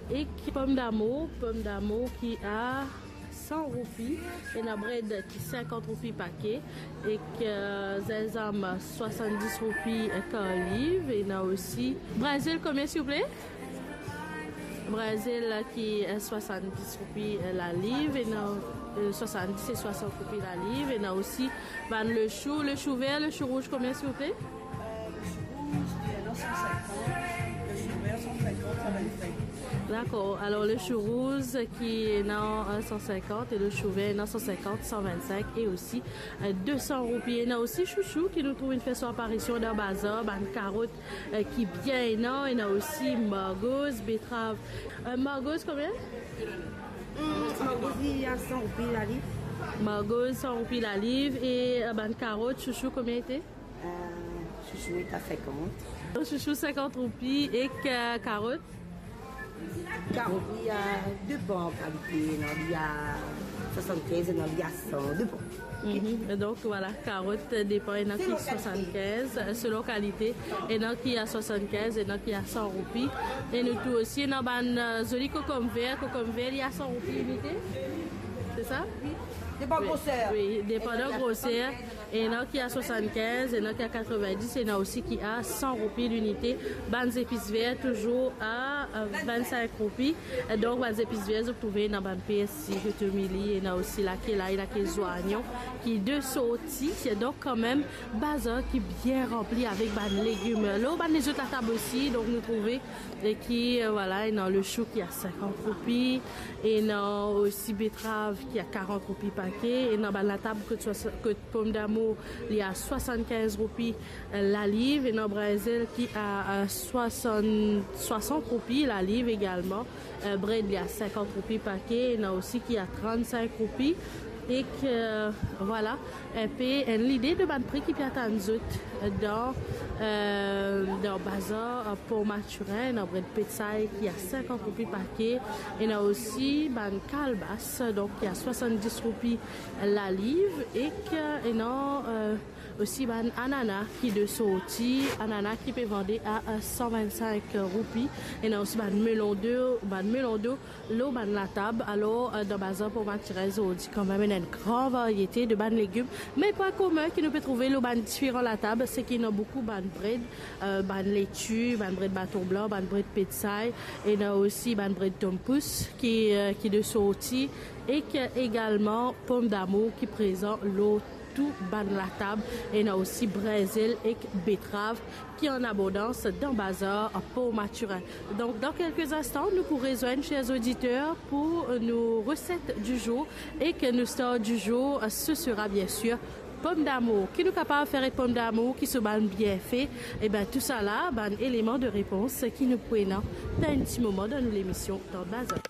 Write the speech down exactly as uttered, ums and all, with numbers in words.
Ek pomdamour, pomdamour ki a san roupi, ena bred ki sinkant roupi pake, ek, euh, zinzam swasanndis roupi kar liv, ena osi brinzel, konbien, silvouple? Brinzel ki, euh, swasanndis roupi, euh, laliv, ena, euh, swasanndis e swasant roupi laliv, ena osi bann lechou, lechou ver, lechou rouz, konbien, silvouple? Euh, lechou rouz, li ena san sinkant, lechou ver san sinkant, sa vingt-cinq. Dakor, alor lechou rouz ki ena, euh, san sinkant, e lechou ver ena san sinkant, san vingt-cinq, e osi, euh, de san roupi. Ena osi chouchou ki nou trouv inn fer so aparision dan bazar, bann karot, euh, ki bien ena, ena osi margoz, betrav. Euh, margoz konbien? Hmm, margoz li a san roupi laliv. Margoz san roupi laliv, e, euh, bann karot, chouchou, konbien ete? Euh, chouchou ete a sinkant. Chouchou sinkant roupi, ek, euh, karot? Karot, li a, depan kalite, ena li a swasann-kinz, ena li a san, depan. Mhm. Donk, vwala, karot, euh, depan, ena ki swasann-kinz, euh, selon kalite, ena ki a swasann-kinz, ena ki a san roupi. E nou trouv osi, ena bann, euh, zoli kokonm ver, kokonm ver, li a san roupi linite. Se sa? Depan groser. Wi, depandan groser. Ena ki a swasann-kinz, ena ki a katrovin-dis, ena osi ki a san roupi linite. Bann zepis ver touzour a, euh, vingt-cinq roupi. Donk, bann zepis ver, zot trouve ena bann persi, kotomili, ena osi lake lay, lake zwayon, ki de sorti. Donk, kanmem, bazar ki bien ranpli avek bann legim. Lor bann lezot latab osi, donk, nou trouve, e ki, euh, vwala, ena lechou ki a sinkant roupi, ena osi betrav ki a karant roupi pake, ena bann latab kot swa-, kot pomdamour, li a swasann-kinz roupi, euh, laliv, ena brinzel ki a, euh, swasann, swasant roupi laliv egalman, euh, bred li a sinkant roupi pake, ena osi ki a trant-sink roupi, ek, euh, vwala, enpe enn lide de bann pri ki pe atann zot, euh, dan, euh, dan bazar, euh, Port Mathurin, ena bred petsay ki a sinkant roupi pake, ena osi bann kalbas, donk ki a swasann-dis roupi laliv, ek, euh, ena, euh, osi bann anana ki de sorti, anana ki pe vande a, a san vingt-sink roupi, ena osi bann melon de, bann melon de lor bann latab. Alor, euh, dan bazar Port Mathurin zordi, kanmem, ena enn gran variete de bann legim. Me pwin komin ki nou pe trouve lor bann diferan latab, se ki ena boukou bann bred, euh, bann leti, bann bred baton blan, bann bred petsay, ena osi bann bred tompous ki, euh, ki de sorti, ek egalman pomdamour ki prezan lor tou bann latab, ena osi brinzel ek betrav ki an abondans dan bazar Port Mathurin. Donk, dan kelke instan, nou pou rezwenn, cher oditer, pou nou reset di zour, ek nou star di zour, ce sera bien sûr pomdamour. Ki nou kapav fer ek pomdamour, ki so bann bienfe? Eben, tousala, bann eleman de repons ki nou pou ena dan enn ti moman dan nou lemision Dan Bazar.